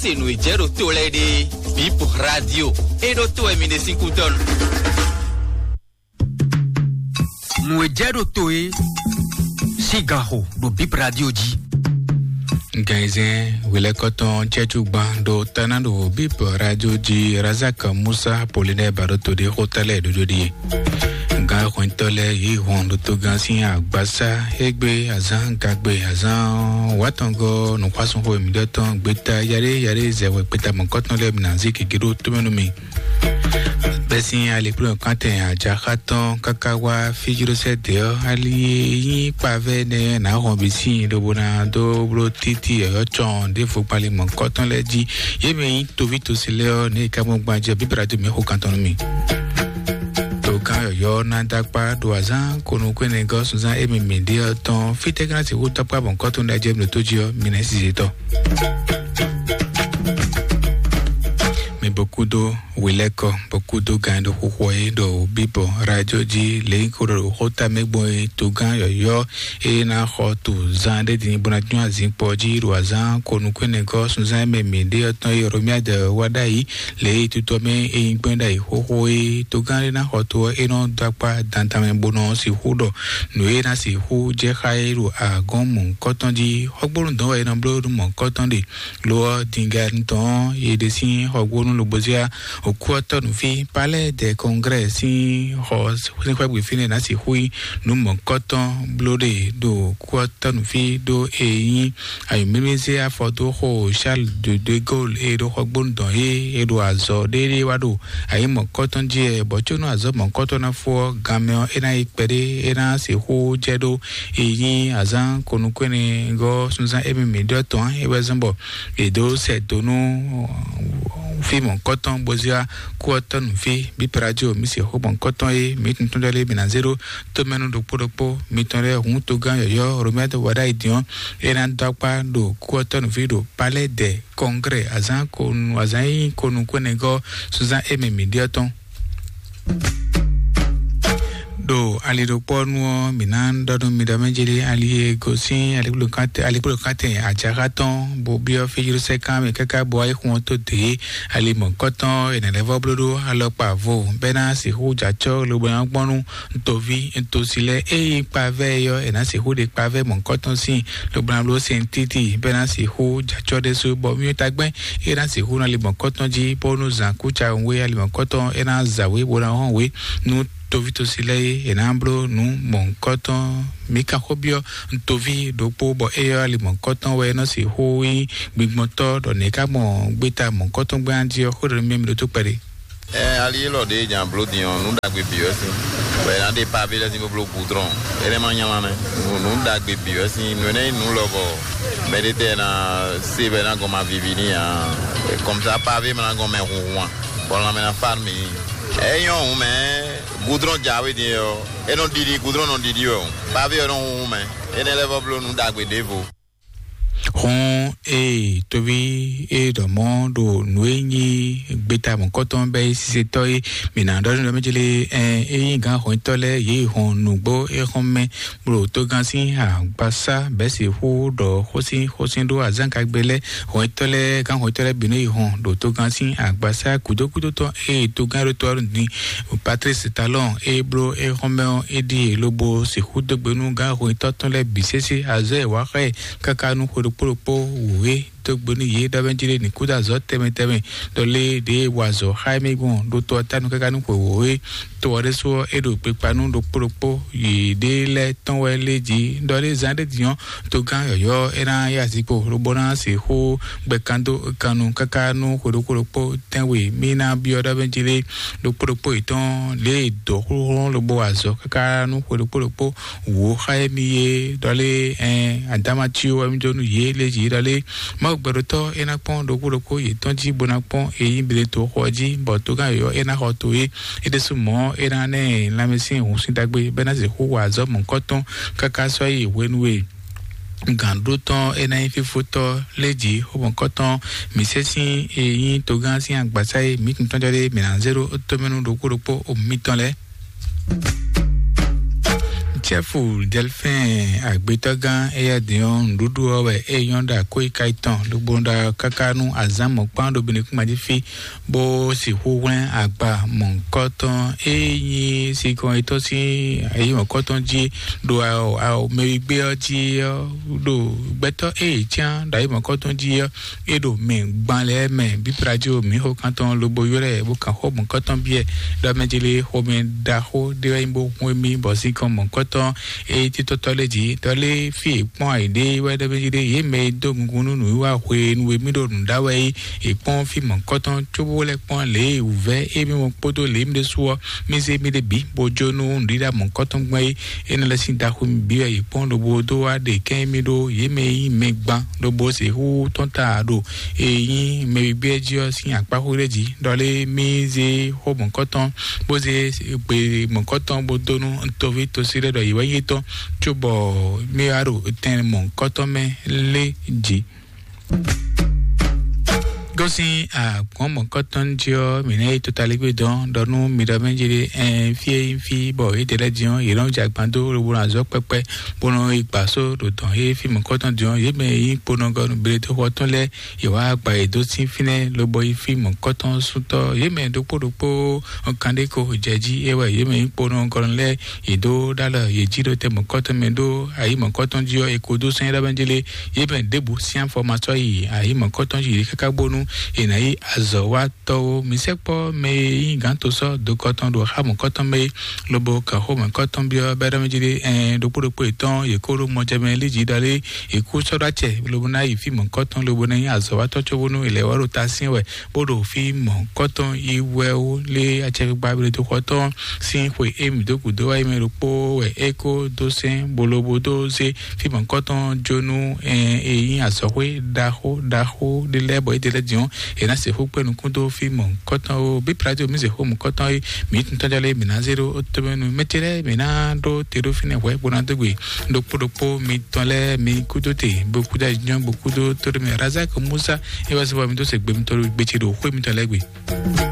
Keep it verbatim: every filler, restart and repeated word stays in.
Se nǔ e jɛ ɖo to lɛ́ɛ ɖe, Bip Radio, e ɖo to wɛ mi ɖe sín kútɔ́ nu. Nǔ e jɛ ɖo to e sín gan xo ɖo Bip Radio jí. Gɛnzɛn wělɛkɔtɔn cɛ́cugban ɖo táná ɖo Bip Radio jí. Razak Musa Apollinaire ba ɖo to ɖé xó tɛ́ lɛ́ɛ ɖoɖo ɖíe. Gǎn hwɛntɔ́ lɛ́ɛ yě hɔn ɖo togán sín agbasá égbé azán gagbe azán wátɔngɔ́ nǔxwásúnxó mǐɖɔtɔn gbeta yaɖé yaɖé zɛwɛ gbeta mɔ̌kɔtɔn lɛ́ɛ mi ná zí gěgé ɖó tómɛ nú mi. Bɛ́ sín alikplɔ́nkan tɛn ajaxá tɔn káká wá fíjlósɛ́ dě ɔ́, ali e nyí kpavɛ́ nɛ́ ná hɔn bǐ sín lobo ná dó bló títí yɔ̌yɔ́ cɔn ɖěvo kpali mɔ̌kɔtɔn lɛ́ɛ jí. Yě mɛ nyí toví tosi lɛ́ɛ ɔ́, ní è ká mɔ gbajɛ bíbélà dó mǐ xo kan tɔn nú mi. Togán yɔ̌yɔ́ ná dó akpá ɖo azǎn konukúnɛgɔ́ sunzán émi mǐ ɖe ɔ́ tɔn. Fítɛ́ ká ná sixú dó akpá bɔ nǔkɔ́tɔn ɖ'ajɛ mǐ ɖo tó jí ɔ́, mi nɛ́ size tɔn. Mi bó kúdó wělɛ́kɔ, bó kúdó gǎn e ɖo xóxó ɔ́ é ɖo bíbɔ radio jí lě nyí xó ɖɔ ɖo xóta mɛ gbɔn é togán yɔ̌yɔ́ é ná xɔ to zan ɖé din bó ná dún azǐnkpɔ jí ɖo azǎn konukúnɛgɔ́ sunzán mɛ mǐ ɖe ɔ́ tɔn é Romiade wá ɖ'ayǐ lě e tutɔ mɛ é nyí gbɛ́n ɖ'ayǐ xóxó é togán ɖé ná xɔ to ɔ́ é nɔ dó akpá dandan mɛ bó nɔ sixú ɖɔ nǔ e ná sixú jɛ xá é ɖo agɔ́n mɔ̌hunkɔtɔn jí. Xɔgbónu dɔn wɛ é nɔ bló nú mɔ̌hunkɔtɔn ɖe. Lo ɔ́, dingɛn tɔn ɔ́, yě ɖe sín xɔgbónu lobozia òkú ɔ́ tɔ́ nǔ fí. Palais des Congrès sín xɔ sín xwé gbe fínɛ́ ná sixú nyí nǔ mɔ̌kɔtɔn bló ɖe ɖo òkú ɔ́ tɔ́ nǔ fí ɖó e nyí ayǒmímízé afɔdóxo Charles de de Gaulle e ɖo xɔgbónu dɔn é e ɖo azɔ̌ ɖéɖé wá ɖo ayǐ mɔ̌kɔtɔn jí ɛ bɔ có nú azɔ̌ mɔ̌kɔtɔn ná fó ɔ́, ganmɛ ɔ́ é ná yi kpɛɖé é ná sixú jɛ ɖó e nyí azǎn konukúnɛgɔ́ sunzán émi mǐ ɖɔ tɔn é wɛ zɔ́n bɔ è dǒ sɛ do nú fí mɔ̌kɔtɔn bó zé wá kú ɔ́ tɔ́ nǔ fí. Bíperadio mǐ se xó mɔ̌kɔtɔn e mǐ tuntun ɖɔ lé mǐ ná zé ɖó tómɛnu ɖokpó ɖokpó mitɔn lɛ́ɛ hǔn togán yɔ̌yɔ́ Romɛ́ wɔ ɖ'ayǐ din ɔ́, é ná dó akpá ɖo kú ɔ́ tɔ́ nǔ fí ɖo Palais des Congrès azǎn konu azǎn e nyí konukúnɛgɔ́ sunzán émi mǐ ɖe ɔ́ tɔn. Ɖo ali ɖokpɔ́ nu ɔ́, mǐ ná ɖɔ nú mi ɖɔ mɛ jeli ali e gosín alikplɔ́katɛ alikplɔ́katɛ ajaxa tɔn bó byɔ́ fíjlósɛ́kán mɛ káká bɔ ayixun ɔ́ tó dě ali mɔ̌kɔtɔn è nǎ lɛ́ vɔ́ bló ɖó alɔkpa vo bɛ́ ná sixú jɛ acɔ́ lobo ná gbɔn nú ntoví ntosi lɛ́ɛ. Ényí kpavɛ́ e ɔ́, è nǎ sixú ɖe kpavɛ́ mɔ̌kɔtɔn sín lobo ná bló sɛn títí bɛ́ ná sixú jɛ acɔ́ ɖésú bɔ mí tagbɛ́ é ná sixú ná li mɔ̌kɔtɔn jí bónú zǎn kúca we ali mɔ̌kɔtɔn é ná zǎ we bó ná hɔn we nú toví tosi lɛ́ɛ é è nǎ bló nǔ mɔ̌kɔtɔn. Mǐ ka xó byɔ́ ntoví ɖokpó bɔ éyɔ́ ali mɔ̌kɔtɔn wɛ é nɔ sixú nyí gbigbɔntɔ́ ɖɔ nɛ̌ ká mɔ gbéta mɔ̌kɔtɔn gbɛ́ jí ɔ́, xó ɖɔ nú mì mì ɖótó kpɛɖé. Ɛ ali élɔ́ ɖě nya bló din ɔ́, nǔ ɖagbe bǐ wɛ sín. Bɔ è nǎ ɖe pavé lɛ́ɛ sín bó bló gudrɔn. Énɛ́ ma nylá mɛ. Nǔ nǔ ɖagbe bǐ wɛ sín. Nǔ énɛ́ nyí nǔ lɔ bɔ mɛɖé tɛ ná se bɔ é ná gɔn ma vivi n'i ǎ. Kɔmsa pavé ma ná gɔn mɛ hunhun ǎ. Bɔ lanmɛ ná fá nú mǐ. É nyɔ́ hǔn mɛ. Gudrɔn jǎwe din ɔ́, é nɔ ɖiɖi gudrɔn nɔ ɖiɖi wɛ o. Pavé ɔ́ nɔ hunhun mɛ. Énɛ́ lɛ́ɛ vɔ bló nǔ ɖagbe ɖěvo. Hɔn ee toví e ɖɔ mɔ ɖo nǔ e nyí gbeta mɔ̌kɔtɔn bɛ é sisetɔ é mǐ ná ɖɔ nú ɖɔ mɛ jele ɛ é nyí gǎn hɔnyitɔ́ lɛ́ɛ yě hɔn nǔgbó é xɔn mɛ blo togán sín agbasá bɛ́ sixú ɖɔ xósín xósín ɖó azǎngagbe lɛ́ɛ hɔnyitɔ́ lɛ́ɛ gǎn hɔnyitɔ́ lɛ́ɛ bǐ nɔ yi hɔn ɖo togán sín agbasá kúdókúdó tɔn eye togán ɖó tɔ́ ní Patrice Talon e bló é xɔ́n mɛ ɔ́, é ɖíe lobo sixú dó gbe nú gǎn hwetɔ́ tɔn lɛ́ɛ bǐ sésé azɔ̌ e wǎ xá ɛ káká nú xwe ɖokpó ɖokpó wǔ é dó gbe nú yě ɖɔ mɛ jí ɖé ní kúdó azɔ̌ tɛnmɛ tɛnmɛ ɖɔ lé ɖěe wa azɔ̌ xá émí gbɔn ɖó tɔ ɔ́ tánu káká nú xwe wǒ é. To ɔ́ ɖésú ɔ́, é ɖo kpekpa nú ɖokpó ɖokpó yěɖée lɛ́ɛ tɔn wɛ lé jí ɖɔ lé zán ɖé din ɔ́, togán yɔ̌yɔ́ é ná yá zikpo lobo ná sixú gbɛ kan dó kan nu káká nú xwe ɖokpó ɖokpó tɛ́nwe mí ná byɔ́ ɖɔ mɛ jí ɖé ɖokpó ɖokpó yětɔn lě e dǒ xlóxló lobo wa azɔ̌ káká nú xwe ɖokpó ɖokpó wǒ xá émí é ɖɔ lé ɛn adamaciwo wɛ mí dó nú yě lé jí ɖɔ lé Mawu gbɛɖotɔ́ é ná kpɔ́n ɖokpó ɖokpó yětɔn jí bó ná kpɔ́n eyín bleto xɔ jí bɔ togán yɔ̌yɔ́ é ná xɔ to é é ɖésú mɔ̌ é ná ná ɛ lanmɛsyɛn hǔn sín ɖagbe bɔ é ná sixú wa azɔ̌ mɔ̌hunkɔtɔn káká sɔ́ yi hwenu e gǎnɖótɔn é ná nyí fífótɔ́ lé jǐ xomɔkɔ́tɔn mǐ sɛ́ sín e nyí togán sín agbasá e mǐ tun tɔ́jɔ́ ɖé mǐ ná zé ɖó tómɛnú ɖokpó ɖokpó mitɔn lɛ́ɛ. Tɛ́fu Dɛlfɛ́n agbetɔ́gán éyɛ́ din ɔ́, nǔɖuɖu ɔ́ wɛ é nyɔ́ ɖo akwéka tɔn, lobo ɖo káká nú azǎn mɔ̌kpán ɖo Benekúnmají fí, bó sixú hwlɛ́n agba mɔ̌hunkɔtɔn e nyí sinkɔn yětɔn sín ayi mɔ̌hunkɔtɔn jí ɖo mɛwigbé ɔ́ jí ɔ́, ɖo gbɛtɔ́ e yě cyán ɖo ayi mɔ̌hunkɔtɔn jí ɔ́, é ɖo mɛ gban lɛ́ɛ mɛ. Bíblájí mǐ xo kántɔn lobo ylɔ́ ɛ bó kan xó mɔ̌kɔtɔn byɔ́ ɛ, ɖɔ mɛ jí lé xomɛ ɖaxó ɖé wɛ nyí bó hun émí bɔ sinkɔn mɔ̌kɔtɔn e títɔ́tɔ́ lɛ́ɛ jí ɖɔ lé fí è kpɔ́n ayǐ ɖé wɛ ɖɔ mɛ jí lé yě mɛ e dó gungun nú nǔwiwa hwenu e mí ɖo nǔ ɖá wɛ é. È kpɔ́n fí mɔ̌kɔtɔn cóbó lɛ́ kpɔ́n lě e wǔvɛ́ émí mɔ kpódó lě mí ɖésú ɔ́, mí zé mí ɖé bǐ bó jó nú nǔɖiɖa mɔ̌kɔtɔn gbɔn é. É nɔ lɛ́ sín daxú mì bǐ wɛ yě kpɔ́n lobo dó wá ɖe kɛ́n émí ɖó yě mɛ e nyí mɛ gban lobo sixú tɔ́n ta ɖo e nyí mɛ e gbé jí ɔ́ sín akpáxú ɖé jí. Ɖɔ lé mí zé xó mɔ̌kɔtɔn bó zé gbe mɔ̌kɔtɔn bó dó nú toví tosí lɛ́ɛ ɖɔ yě wɛ nyí étɔn, cóbɔ mí wá ɖo tɛn mɔ̌kɔtɔn mɛ lé jí. Gosín àgbɔ̀n mɔ̌kɔtɔn jí ɔ́, mǐ nɛ́ yi totaligbé dɔn ɖɔ nú mi ɖɔ mɛ jí ɖé ɛn fí e nyí fí bɔ yě ɖe lɛ́ɛ jí ɔ́, yě nɔ jɛ agban dó lobo nɔ azɔ̌ kpɛkpɛ bó nɔ yi gbǎ só ɖo dɔn yé fí mɔ̌kɔtɔn jí ɔ́, yě mɛ e nyí kponɔgɔnu Beletexɔ tɔn lɛ́ɛ, yě wá gba yě dó sín fínɛ́ lobo yi fí mɔ̌kɔtɔn sútɔ́. Yě mɛ ɖokpó ɖokpó kan ɖé ko jɛ jí é wɛ yě mɛ nyí kponɔgɔnu lɛ́ɛ yě dó ɖó alɔ yě jí ɖo tɛ mɔ̌kɔtɔn mɛ ɖó ayi mɔ̌kɔtɔn jí ɔ́, è ko dó sɛ́n ɖɔ mɛ jí lé yě mɛ ɖěbǔ sín afɔ ma sɔ́ yi ayi mɔ̌kɔtɔn jí yě káká bónú è nǎ yi azɔ̌ wá tɔ́wo. Mǐ sɛkpɔ́ mɛ e nyí gǎn to sɔ́ dokɔtɔn ɖo xá mɔ̌kɔtɔn mɛ é, lobo kan xó mɔ̌kɔtɔn byɔ́ bɛ́ ɖɔ mɛ jí ɖé ɛn ɖokpó ɖokpó yětɔn yě kó ɖó mɔjɛmɛ lí jí ɖɔ lé yě kú sɔ́ ɖó acɛ lobo ná yi fí mɔ̌kɔtɔn lobo ná nyí azɔ̌watɔ́ cóbónú è lɛ́ wá ɖo ta syɛ́n wɛ bó ɖo fí mɔ̌kɔtɔn yi wɛ ó lé acɛkpikpa Beletexɔtɔn sín xwe e mǐ dó gǔdo wá yi mɛ ɖokpó wɛ é kó dó sɛ́n bó lobo dó zé fí mɔ̌kɔtɔn jó nú e nyí azɔ̌xwé ɖaxó ɖaxó ɖé lɛ́ɛ bɔ é ɖe lɛ́ din ɔ́, è nǎ sixú kpé nukún dó fí mɔ̌kɔtɔn ó. Bí Plati mǐ se xó mɔ̌kɔtɔn é, mǐ tún tɔ́já lé mǐ ná zé ɖó ó tɔ́mɛ nú mɛ ce lɛ́ɛ mǐ ná ɖó te ɖó fínɛ́ hwɛ̌ bó ná dó gbe ɖokpó ɖokpó mitɔn lɛ́ɛ mi kúdó te bó kúdó ayǐjínjɔ́n bó kúdó tóɖémɛ Razak Musa é wá sí bɔ mi dó se gbe mitɔn ɖo gbe ce ɖo xwé mitɔn lɛ́ɛ gbe.